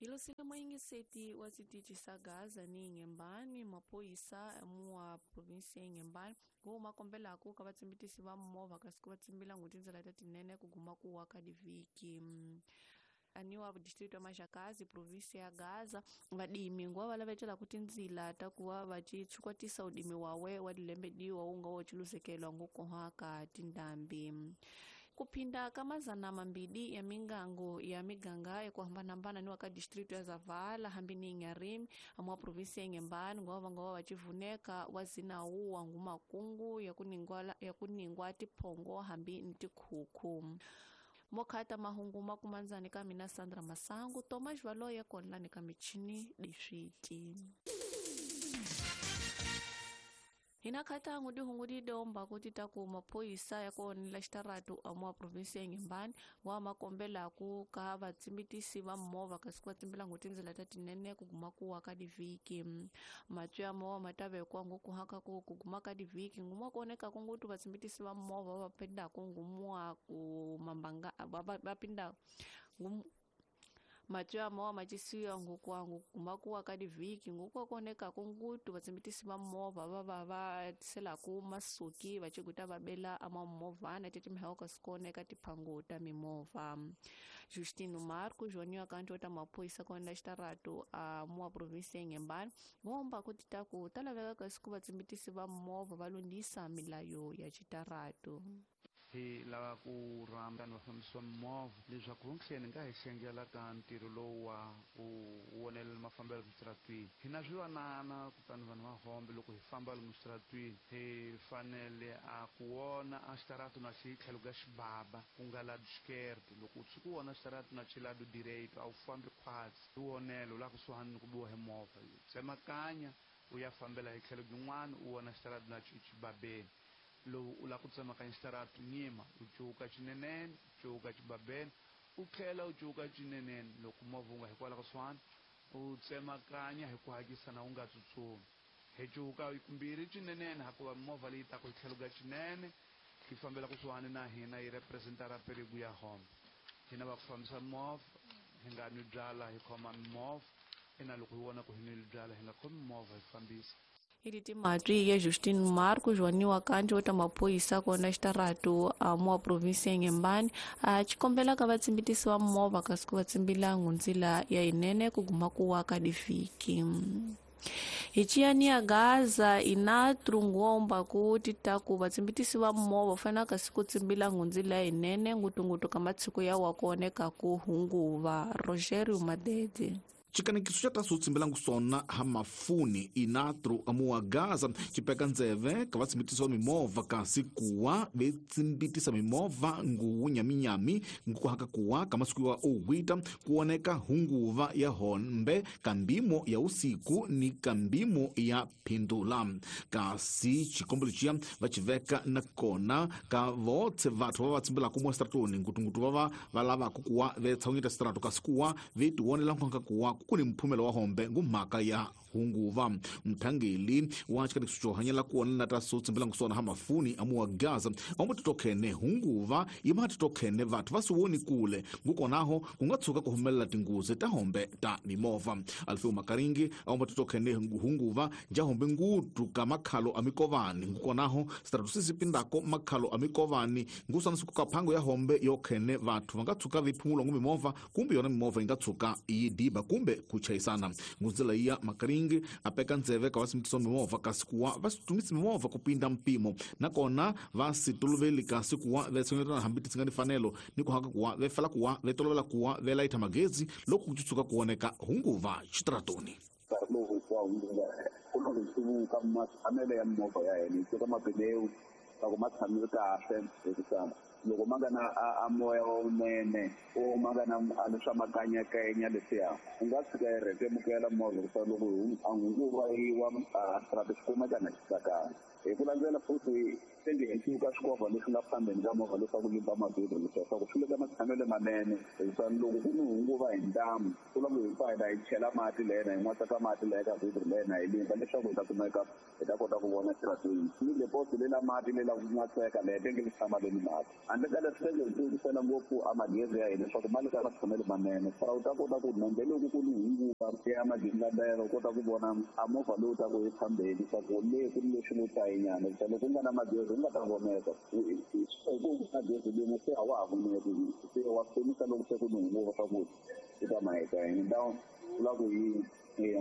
Hilosile moyingiseti wa switichi sa Gaza ni Inhambane, maphoyisa mua provinsi ya Inhambane ku ma kombelaku ka vatsimbitisi va movha kasi ku va tsimbila ngo tindlela ta tinene ku guma ku wa ka divhiki. Aniwa distrito ya Maxakazi provinsi ya Gaza vadimi nguva va lavetelaku tindzila ta ku va va tshikwatisa udimi wawe wa dilembediwa wu nga wo ciluzekelwa ngukoha ka tindhambi. Kuphinda ka mazana mambili ya mingango ya miganga ya ku hambanahambana ni wa ka distrito ya Zavala hambi ni Inharime amwa provinsi ya Inhambane nguva va nga va va civuneka wa zinawu wa ngumakungu ya ku ningwa tiphongo hambi ni tikhukhu. Mokhata mahungu makumandzani ka mina Sandra Masangu Thomas Valoye konlani ka michini diswiti. Hina khatangu dihungu didomba kuti taku maphoyisa ya kuonela xitaratu amwa provinsi ya Inhambane wa makombelaku ka vatsimbitisi va movha kasi ku va tsimbilangu tindlela ta tinene ku guma ku wa ka divhiki. Matwi ya movha ma ta vekiwa ngukuhaka ku guma ka divhiki nguma ku onekaku ngutu vatsimbitisi va movha va pindaku ngumwa ku mambanga va pinda matwi ya movha ma cisiwa ngukwangu guma ku wa ka divhiki nguku konekaku ngutu vatsimbitisi va movha va va va tiselaku masuki va ciguta va bela ama movhana tetimheho kasi kuoneka tiphangu ta mimovha. Justino Marco Joniwa kanti ta maphoyisa kona xitaratu a mua provinsi ya Inhambane ngomba ku ti ta ku ta laveka kasi ku vatsimbitisi va movha va lunghisa milayo ya xitaratu. Hi lava ku rhamba vanhu va fambisa mimovha leswaku hunhleni nga hi xengela ka ntirho lowu wa ku vonelela mafambelo switaratwini. Hi na swivanana kutani vanhu va hombe loko hi famba lomu switaratwini hi fanele a ku vona a xitaratu na xi tlhelo ka xibaba ku nga lado esquerdo. Loko u tshuka u vona xitaratu na xi lado direito a wu fambi khwatsi hi vonelo la kusuhani ni ku biwa hi movha tsemakanya u ya fambela hi tlhelo byin'wana u vona xitaratu na xi xibabeni. Lowu u lava ku tsemakanya xitaratu nyima u cuka xinenene u cuka xibabeni u tlhela u cuka xinenene loko movha wu nga hikwalaho kusuhani u tsemakanya hi ku hatlisa na u nga tsutsumi. Hi cuka kumbirhi xinenene hikuva movha leyi taka hi tlhelo ka xinene yi fambela kusuhani na hina yi representa ra perigo ya hombe. Hina va ku fambisa movha hi nga nwi byala hi khoma mimovha ina loko hi vona ku hi nwile byala hi nga khomi movha hi fambisa. Iliti matwi ya Justin Marco Joaniwa kanti ota maphoyisa kona xitaratu a mua provinsi ya Inhambane a xikombela ka vatsimbitisi va movha kasi ku va tsimbilangu ndzila ya yinene ku guma ku wa ka divhiki. Hi ciyani ya Gaza inatru ngomba ku titaku vatsimbitisi va movha fanele kasi ku tsimbilangu ndzila ya yinene ngutungutu ka matshiko ya wa kuoneka ku hunguva. Rogerio Madede. Xikanekiso xa taso tsimbilangu sona ha mafuni inatru amuwa Gaza xipeka ndzeve ka vatsimbitisi va mimovha kasi kuwa vetsimbitisa mimovha nguwu nyaminyami ngukuhaka kuwa ka masiku ya owita kuoneka hunguva ya hombe kambimo ya usiku ni kambimo ya phindula. Kasi xikombelo xiya va xiveka na kona ka votse vathu va va tsimbilaka mo stratoni ngutungutu va va lavaka kuwa vetshawunyeta strato kasi kuwa vetionela nkonka kuwa ku ni mphumelo wa hombe ngumhaka ya hunguva. Mthangeli wa xikanekiso xo hanyela kuona na ta so tsimbilangu sona ha mafuni amuwa Gaza amu titokhene hunguva yima titokhene vathu va swi voni kule ngukonaho ku nga tshuka ku humelela tinghozi ta hombe ta mimovha. Alfeo Makaringi amu titokhene hunguva ja hombe ngutu ka makhalo a mikovani ngukonaho sitaratu sisi pindako makhalo a mikovani ngusana siku ka phango ya hombe yo khene vathu va nga tshuka viphumulwa ngu mimovha kumbe yona mimovha yi nga tshuka yi diba kumbe ku chayisana. Ngundzela ya Makaringi apeka ndzeve ka vasimitisa mimovha kasi kuwa va situmisa mimovha ku pinda mpimo nakona va si toloveli kasi kuwa vetsonetana hambi ti nga ni fanelo ni ku haka kuwa ve fela kuwa ve tolovela kuwa ve layitha magezi loko ku tshuka ku oneka hunguva xitaratoni. Nkarhi lowu hinkwawo ku na ku hluvuka matshamelo ya mimovha ya hina hi teka mapineu loko ma tshamile kahle hikuva loko ma nga na a moya lowunene o ma nga na a leswa makanyakanya leswiya u nga tshika yi rhetemukela movha hikuva loko a hunguva yi wa a xitarato xi kumeka na xi tsakanga. Hi ku landzela futhi tenge hi cuka swikovha leswi nga phambeni ka movha leswaku limba mavhilwa leswaku swi le ka matshamelo manene hikuva loko ku ni hunguva hi ntamu ku lava hi pfa hi chela mati lena hi n'watsaka mati leya ka vhilwa lena hi limba leswaku hi ta kumeka hi ta kota ku vona xitaratweni ni lepoto lela mati lela ku n'watseka leya tenge li tshama leni mati Handle ka leswi swi tirhisela ngopfu a magezi ya hina leswaku ma le ka matshamelo manene fara u ta kota ku nambe loko ku ni hunguva ya magingandela u kota ku vona a movha lowu ta ku efambeni leswaku le ku ni leswi ngo tayinyana hikuva loko ku nga na magezi u nga ta voneka ku magezi limo se a wa ha voneki se wa khomisa loko se ku ni hunguva swa ku u ta maheta hi ndhawu vula ku yi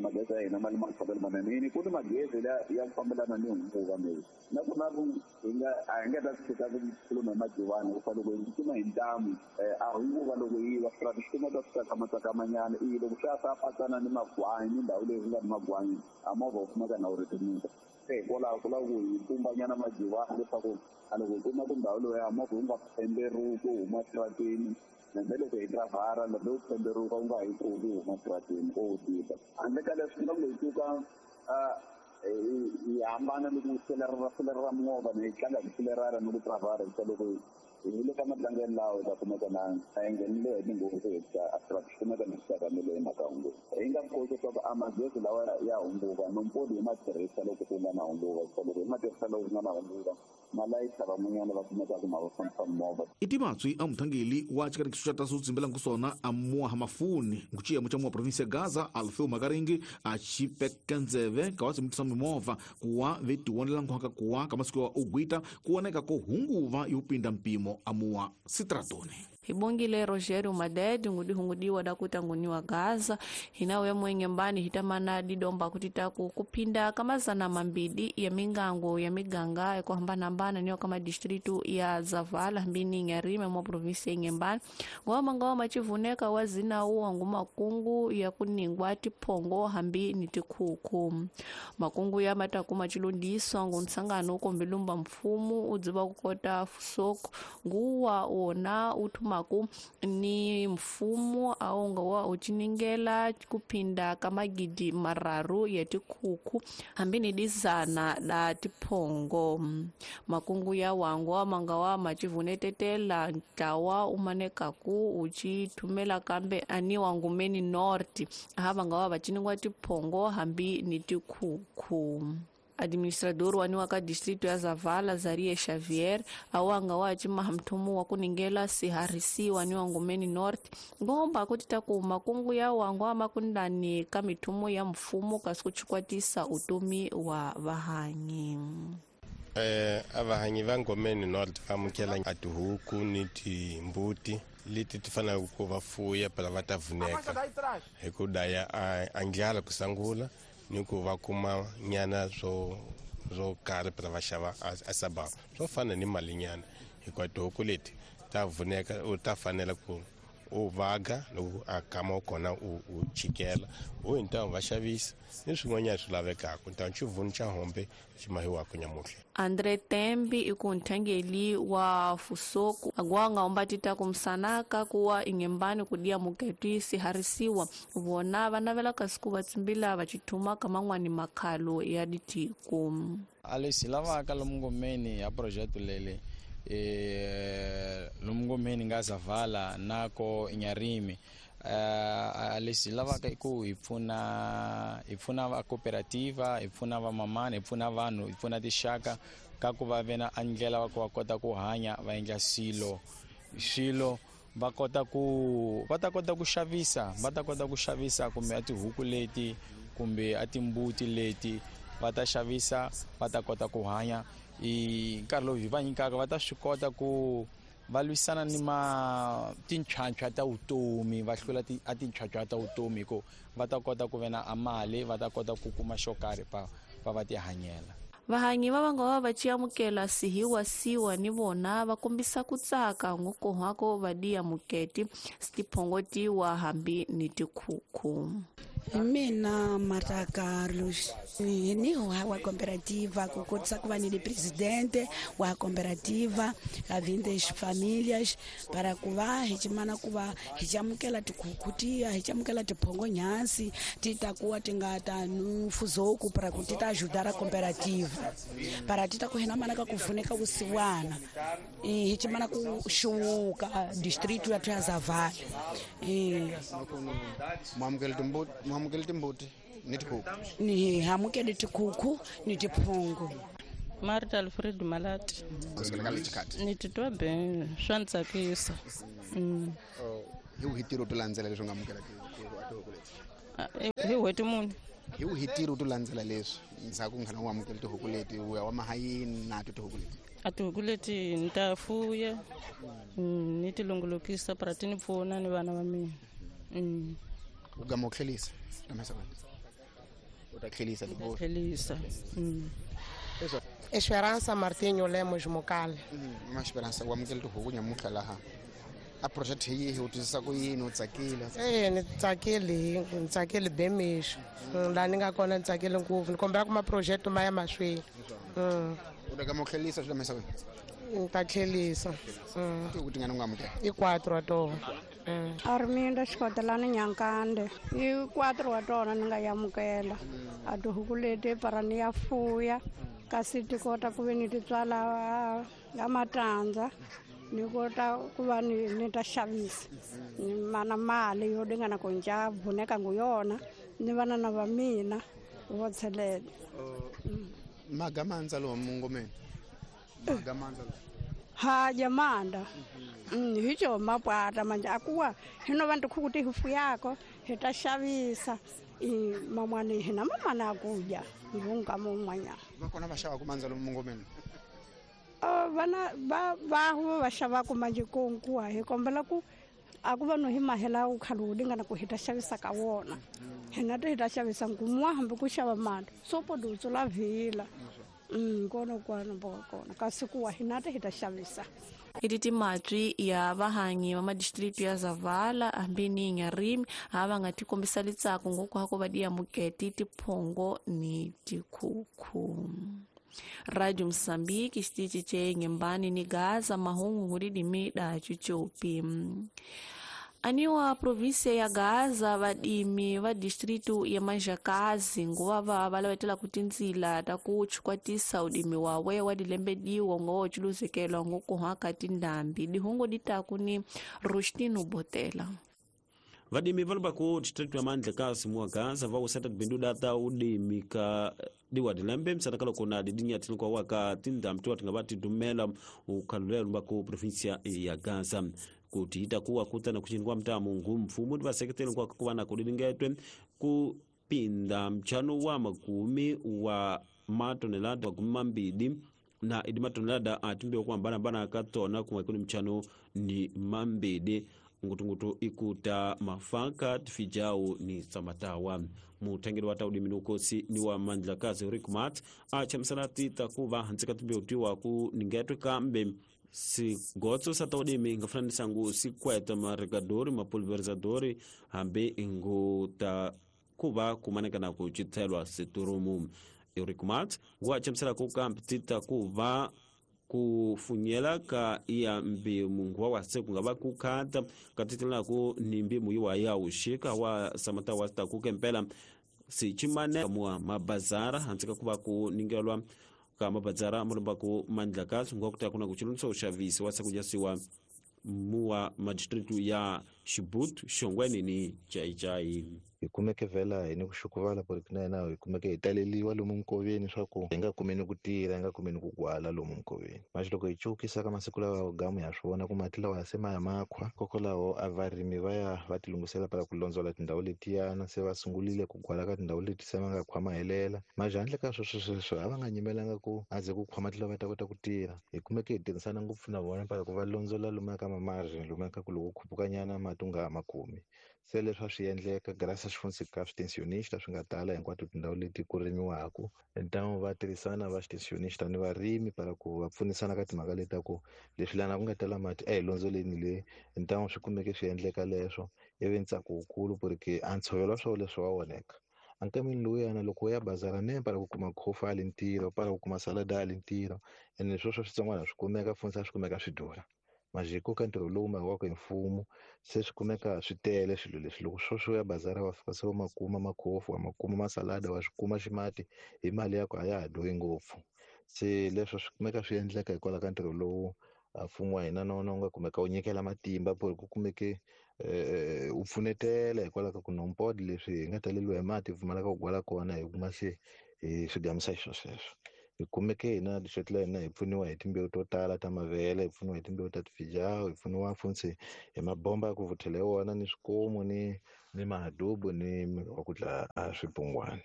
magezi ya hina ma le matshamelo manene yini ku ni magezi ya ku fambelana ni hunguva leyi nakona ku hi nga a hi nga ta tshika ku khuluma hi majivani hikuva loko hi kuma hi ntamu a hunguva loko yi wa swi swi kumeka swi tsakamatsakamanyana i loko swi ya swa patsana ni magwanyi ni ndhawu leyi ku nga ni magwanyi a movha wu kumeka na wu rhetemuka se hikwalaho ku lava ku hi pumbanyana majivani leswaku a loko hi kuma ku ndhawu loyi a movha wu nga pemberuki wu huma xitarateni nambe loko hi dravhara lambe wu pemberuka wu nga hi pfuki wu huma xitarateni o wu tika handle ka leswi nga hi tuka hi hambana ni ku selerera movha ni hi tlanga hi ku selerara ni ku dravhara hikuva loko hi le ka matlangelo lawa hi ta kumeka na a hi nghenile hi tinghozi hikuva a swi kumeka ni swi hi mhaka hunguva hi nga koti leswaku a magezi lawa ya hunguva nompodi hi ma tirhisa loko ku nga na hunguva hikuva loko hi ma tirhisa loko ku nga na hunguva malayisa van'wanyana va kumekaka ma va fambisa movha i timatswi a muthangeli wa xikanekiso xa taso tsimbelangu sona a muaha mafuni nguciyemo xa muwa provinsi ya Gaza Alfeo Makaringi a xipeka ndzeve ka wa tsimbitisa mimovha kuwa ve tiwonelangu haka kuwa ka masiku ya ugwita ku voneka ko hunguva yo pinda mpimo a muwa sitratoni. Hibongile Rogerio Madede ngudihungudiwa dakuta nguniwa Gaza hinawe ya mwenge mbani hitamana didomba kutitaku kupinda kamazana mambidi ya mingango ya miganga ya kuhambana niyo kama distritu ya Zavala mbini Nyarime mwa provinsi ya Ngembani ngoma ngoma chivuneka wazina uwa nguma kungu ya kuningwa tiphongo hambi ni tikhuku makungu ya matakuma chilundiswa ngunsangano ukombilumba mfumu udziba kukota fusoko nguwa wona uthuma maku ni mfumo aonga wa uchiningela kupinda kamagidi mararu ya tikhuku hambi ni dizana da tiphongo makungu ya wangwa mangawa machivunetetela ntlawa umanekaku uchithumela kambe ani wangumeni north hava ngawa vachiningwa tiphongo hambi ni tikhuku. Administrador waniwa ka distrito ya Zavala Zaria Xavier awanga wa chimahamthumu wa kuningela siharisi waniwa Ngumeni North ngomba kutita ku makungu ya wangwa makundani ka mithumu ya mfumo kasi kuchikwatisa utomi wa vahanyi. Avahanyi va Ngomeni North va amukela a tihuku ni timbuti leti ti faneleke ku va fuya phela va ta vuneka hi ku daya a ndlala ku sungula ni ku va kuma nyana swo karhi phela va xava a sababa swo fana ni mali nyana hikuva tihuku leti ta vuneka u ta fanela ku u vaga loko a kama kona u chikela u hi ntamu va xavisa ni swin'wanyana swi lavekaka ntamu xivunu xa hombe xi mahiwaka nyamuhla. Andre Tembi ikunthangeli wa fusoku agwanga ombatita kumsanaka kuwa ingembani kudia muketi siharisiwa vona vanavela kasiku vatsimbila vachithuma kamangwani makhalo ya ditiko. Alesi lavaka lomngomeni ya projeto lele lomngomeni nga Zavala nako Nyarimi alesi lavaka ku hi pfuna va cooperativa hi pfuna va mamana hi pfuna vanhu hi pfuna tixaka ka ku va vena a ndlela va ku va kota ku hanya va endla swilo va kota ku va ta kota ku xavisa va ta kota ku xavisa kumbe a tihuku leti kumbe a timbuti leti va ta xavisa va ta kota ku hanya i nkarhi lowu hi va nyikaka va ta swi kota ku va lwisana ni ma tinchwanchwa ta vutomi va hlula a tinchwanchwa ta vutomi ku va ta kota ku vena a mali va ta kota ku kuma xo karhi va ti hanyela. Vahanyi va vanga va va chiamukela sihiwa siwa ni vona va kombisa ku tsaka ngokohwako va diya muketi tiphongotiwa hambi ni tikhukhu. Mina Marta Carlos ni wa cooperativa ku kotisa ku va ni presidente wa cooperativa a vindes famílias para ku va hi chimana ku va hi chamukela tikhukhu tiya hi chamukela tiphongo nyansi ti ta kuwa ti nga ta nufuzoku para ku ti ta ajudar a cooperativa para ti ta ku hina mana ka ku pfuneka vusiwana hi chimana ku xuwuka distrito ya Zavala. Mwamukele timbuti ni tikhukhu. Ni hamukele tikhukhu ni tiphongo. Marta Alfred Malati. Ni titwa ben swa ni tsakisa. Hi wihi ntirho to landzela leswi nga amukela tihuku leti? Hi n'hweti muni? Hi wihi ntirho to landzela leswi ndzhaku nkhana u amukela tihuku leti u ya wa mahayini na to tihuku leti? A tihuku leti ni ta fuya ni ti longolokisa para ti ni pfuna ni vana va mina. U gama u tlhelisa u ta tlhelisa tlhelisa. Esperança Martinho Lemos Mokale. Ma Esperança u amukela tihuku nyamuntlha laha a project hi yihi u twisisa ku yini u tsakile? Ni tsakile, ni tsakile bemixo laha ni nga kona ni tsakile ngopfu ni kombela ku ma-project ma ya mahlweni. U ta gama u tlhelisa swi lamisa kwini? Ni ta tlhelisa. Tihuku tingani u nga amukela? I 4 wa tona. Arminda Xikotelani Nyankande. I 4 wa tona ni nga yamukela. A tihuku leti para ni ya fuya kasi ti kota ku ve ni ti tswala ya matandza ni kota ku va ni ta xavisa ni mana mali yo lingana ku nca vuneka ngu yona ni vana na va mina vo tshelela. Magamandza lowu mungomeni magamandza lowu ha jamanda hi co mapwata manje akuwa hino vantu khuku ti fuyako hi ta xavisa mamwani hina mamana akuja ngunga mun'wanyana va kona va xavaku mandza lomu mungomeni? Vana va va xavaku manje konkuwa hi kombela ku a ku va no hi mahela wu khale wu lingana ku hi ta xavisa ka wona hina ti hi ta xavisa nkumuwa hambi ku xava mali sopo dutsu la vhila kona kwana bo kona kasi kuwa hina ti hi ta xavisa. Iti timatwi ya vahanyi va madistrict ya Zavala hambi ni Nyarimi ha va nga ti kombisa litsako ngoko hako va di amuketi tiphongo ni tikhukhu. Radio Mozambique xitichi che Nyembani ni Gaza mahungu ngulidimi da chuchopi. Aniwa província ya Gaza vadimi va distrito ya Manjakazi nguva va valavetela ku tindzila ta ku chikwatisa udimi wawe wa dilembediwa ngo chuluzekelwa ngokuhaka tindhambi dihungu ditaku ni Rustino Botela. Vadimi va ku distrito ya Mandlakazi muwa Gaza va useta bindu data udimi ka diwa dilembe msana loko na didinya tilikuwa waka tindhambi tiwa tinga va tidumela ukhalulelo va ku província ya Gaza kuti itakuwa kutana kuchini mtamu ngumfumu tivaseketeli kwa kuva na kudilingetwe kupinda mchano wa 10 wa matonelada 12 na idi matonelada atimbe kwa mbana bana katona kumwe kuni mchano ni 2 ngutungutu ikuta mafaka tifijao ni samatawa mutengeri wa taudi minukosi ni wa Mandlakazi Rick Mat achamsanati takuva hantsika timbe utiwa ku ningetwe kambe sigotso sa taudimi ngafananisa ngu sikweta maregadori mapulverizadori hambi ngu ta kuva kumanekana ku chithelwa siturumu. Eric Mart wachamsela ku kambi tita kuva kufunyela ka iya mbimu nguwa wase kungava kukhata katitela ku ni mbimu iwa ya ushika wa samata wa ta kukempela sichimane mua mabazara hantsika kuva ku ningelwa ka mabazara mulumba ku Mandlakazi nguwa kuta kuna kuchilunso ushavisi wasa kujasiwa muwa madistritu ya Shibut, Shongweni ni Chai-Chai. Hi kumeke vhela hi ni ku xukuvala porque na hina hi kumeke hi taleliwa lomu nkoveni swa ku hi nga kumeni ku tirha hi nga kumeni ku gwala lomu nkoveni manje loko hi cukisa ka masiku lawa gamu ya swi vona ku mati lawa ya se ma ya makhwa kokwalaho a varimi va ya va tilunghisela para ku londzola tindhawu letiyana se va sungulile ku gwala ka tindhawu leti se va nga khwa mahelela manje handle ka sweswo sweswo a va nga nyimelanga ku a ze ku khwa mati lawa va ta kota ku tirha hi kumeke hi tirhisana ngopfu na vona para ku va londzola lomuya ka mamargin lomuya ka ku loko khupukanyana mati u nga ha ma kumi se leswi a swi endleka graças ka extensionista swi nga tala hinkwato tindhawu leti ku rimiwaka então va tirhisana va extensionista ni varimi para ku va pfunisana ka timhaka leti ta ku leswi lana ku nga tala mati a hi londzoleni le então swi kumeke swi endleka leswo ivi ntsako wukulu porque a ntshovelo wa swona leswi wa onheka ankameni lowuyana loko u ya bazara ne para ku kuma khofu a le ntirho para ku kuma salada a le ntirho ene sweswo switsongwana swi kumeka funisa swi kumeka swi durha majiko ka ntirho lowu makiwaka hi mfumo se swi kumeka swi tele swilo leswi loko sweswo ya bazara wa fika se wa makuma makhofu wa makuma masalada wa swi kuma ximati hi mali ya ku a ya ha durhi ngopfu se leswo swi kumeka swi endleka hikwalaho ka ntirho lowu mfumo wa hina na wona wu nga kumeka wu nyikela matimba ku ku kumeke wu pfunetela hikwalaho ka ku nompod leswi hi nga taleliwa hi mati hi pfumalaka ku gwala kona hi kuma se hi swi gamisa xiswo sweswo Hi kumeke hina district la hina hi pfuniwa hi timbewu to tala ta mavele, hi pfuniwa hi timbewu ta tifijawu, hi pfuniwa funtsi hi mabomba ya ku vuthela hi wona, ni swikomu, ni mahadubu, ni mirhi wa ku dlaya a swibungwana.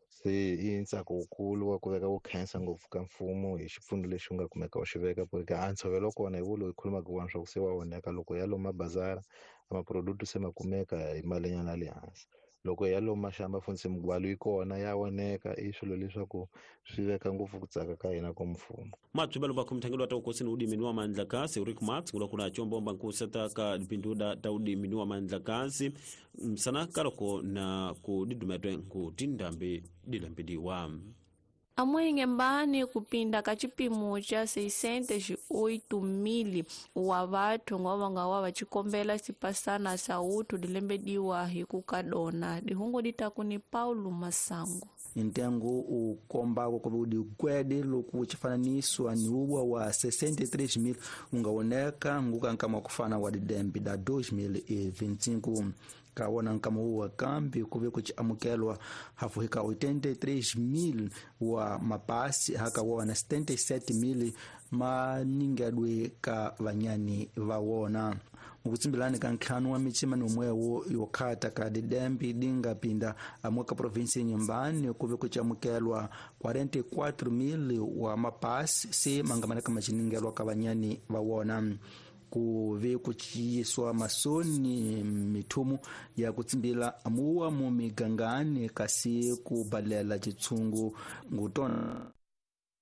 Se i ntsako wukulu wa ku veka ku khensa ngopfu ka mfumo hi xipfuno lexi u nga kumeka u xi veka, ku ri a ntshovelo kona hi wo loyi khulumaka wona swa ku se wa onheka. Loko ya lomu mabazara a maproduct se ma kumeka hi malinyana ya le hansi, loko ya lomu maxamba funtsi migwalo yi kona ya oneka. I swilo leswaku swi veka ngopfu ku tsaka ka hina ka mfumo. Matswibelo va khomithangelo wa ta ukosini udimi ni wa mandlakasi Rick Marx ngula kuna chombomba nkuseta ka dipinduda ta udimi ni wa mandlakasi msana kaloko na ku didumetwe nku tindambi dilambidiwa. Amuinhembane kupinda ka chipimo cha 608,000 wa vathu ngova nga wa vachikombela xipasana xa uthu dilembediwa hi ku ka dona. Dihungu ditaku ni Paulo Masango. Ntengo u kombako ku digwede loko chifananiso ni uwa wa 63,000 ungaoneka nguka nkama kufana wa didembe da 2025. Kawona nkama wa kambi kuve kuchiamukelwa hafu hika 83,000 wa mapasi haka wona 77,000 maningedwe ka vanyani va wona. Mukutsimbilani ka ntlhanu wa michima ni umwewo yokhata ka didembe dinga pinda amuka provinsi nyumbani kuve kuchiamukelwa 44,000 wa mapasi se mangamanaka machiningelwa ka vanyani va wona. Kuve kuchiyiswa masoni mithumu ya kutsimbila amuwa mu migangani kasi kubalela chitsungu ngutona.